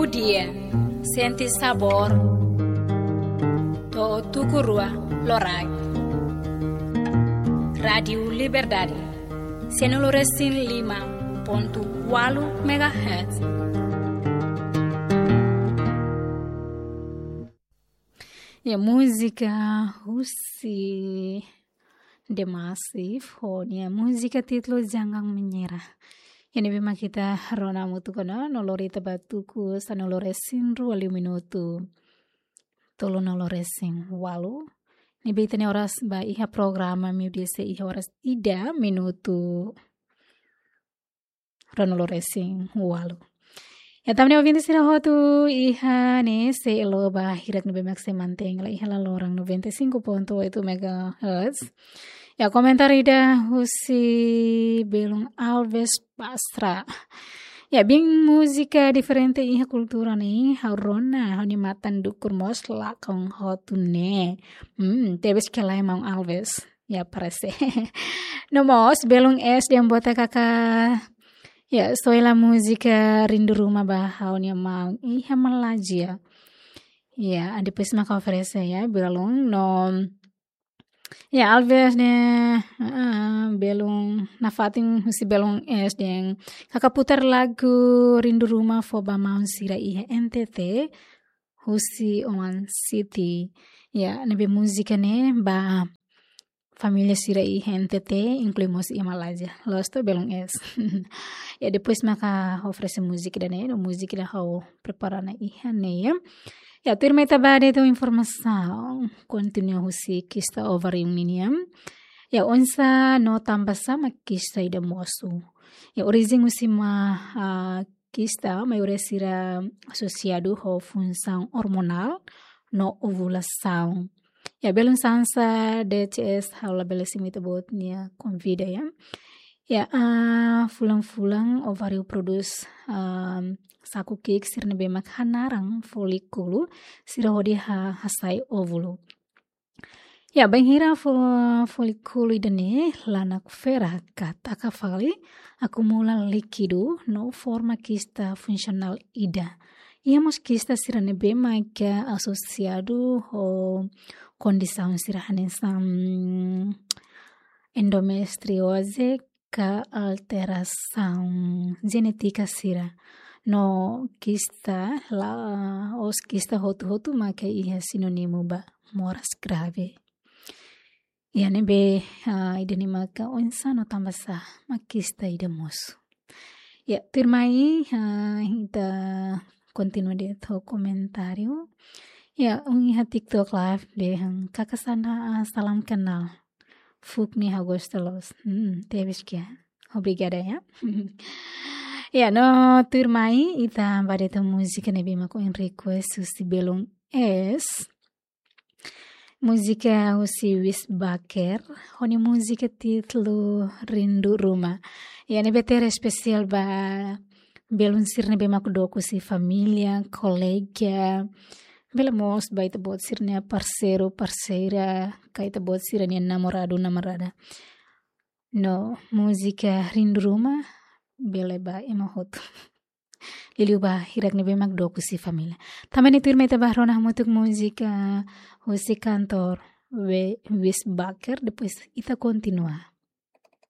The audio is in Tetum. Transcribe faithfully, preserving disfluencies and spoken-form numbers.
Dia, sente sabór. To'o tuku rua loraik. Rádiu Liberdade, sanulu resin lima pontu ualu megahertz. Ya, múzika husi The Massive, ho nia múzika títulu Jangan Menyerah. Ne'ebé mak ita rona hamutuk ona, no lori ita ba tuku sanulu resin rua liu minutu tolunulu resin ualu. Ne'ebé ita-nia oras ba iha programa meiudia sei iha oras ida minutu ruanulu resin ualu. Ya, tanba ne'e ouvinte sira hotu iha ne'e sei elo ba hirak ne'ebé mak sei mantein hela iha laloran noventa e cinco ponto oito megahertz. Ya, komentáriu ida husi belun Alves Basra. Ya, bin múzika diferente iha kultura ne'e, ha'u rona, ha'u-nia matan dukur mós lakon hotu ne'e. Hmm, tebes ka lae maun Alves. Ya, parese. No mós, belun S dehan botak katak, ya, soe hela múzika Rindu Ruma ba ha'u-nia maun iha Malázia. Ya, depois maka oferese, ya, belun, no, ya, Alves ne'e, ah, belun, nafatin husi belun S dehan katak putar lagu Rindu Ruma fó ba maun sira iha N T T, husi Oman City. Ya, ne'ebé múzika ne'e ba família sira iha N T T, inklui mós iha Malázia. Loos to, belun S. Ya, depois maka oferese múzika ida-ne'e, no múzika ida ha'u prepara ona iha ne'e, ya. Ya, tuirmai ita ba de'it ho informasaun, kontinua husi kista ováriu ninian. Ya, oinsá no tanbasá mak kista ida mosu. Ya, orijen husi ma, ah, kista, maioria sira asosiadu ho funsaun ormonál no ovulasaun. Ya, belun Sansa, D C S, ha'u labele simu ita-boot nia konvida, ya. Ya, ah, fulan-fulan ováriu prodús, ah, saku ki'ik sira ne'ebé mak hanaran folíkulu, sira hodi ha-, hasai óvulu. Ya, bainhira fo-, folíkulu ida-ne'e la nakfera ka taka fali, akumula líkidu no forma kista funsionál ida. Iha mós kista sira ne'ebé mak asosiadu ho kondisaun sira hanesan endometrioze ka alterasaun jenétika sira. No kista la'ós kista hotu-hotu mak iha sinónimu ba moras grave. Ya, ne'ebé, ah, ida-ne'e maka oinsá no tanbasá mak kista ida mosu. Ya, tuirmai, ah, ita kontinua de'it ho komentáriu. Ya, um iha TikTok Live dehan, "Kaka Sandra, ah, salam kenal. Fuuk ne'e ha'u gosta loos." Hmm, tebes ka. Obrigada, ya. Ya, no tuirmai ita ba de'it ho múzika ne'ebé mak ohin request husi belun S. Múzika husi Wis Baker, ho nia múzika títulu Rindu Ruma. Ya, ne'ebé tera espesiál ba belun sira ne'ebé mak dook husi família, kolega, bele mós ba ita-boot sira-nia parseiru, parseira, ka ita-boot sira-nia namoradu, namorada. No múzika Rindu Ruma bele ba ema hotu. Liuliu ba hirak ne'ebé mak dook husi família. Tanba ne'e tuirmai ita ba rona hamutuk múzika husi kantór We-, Wis Baker, depois ita kontinua.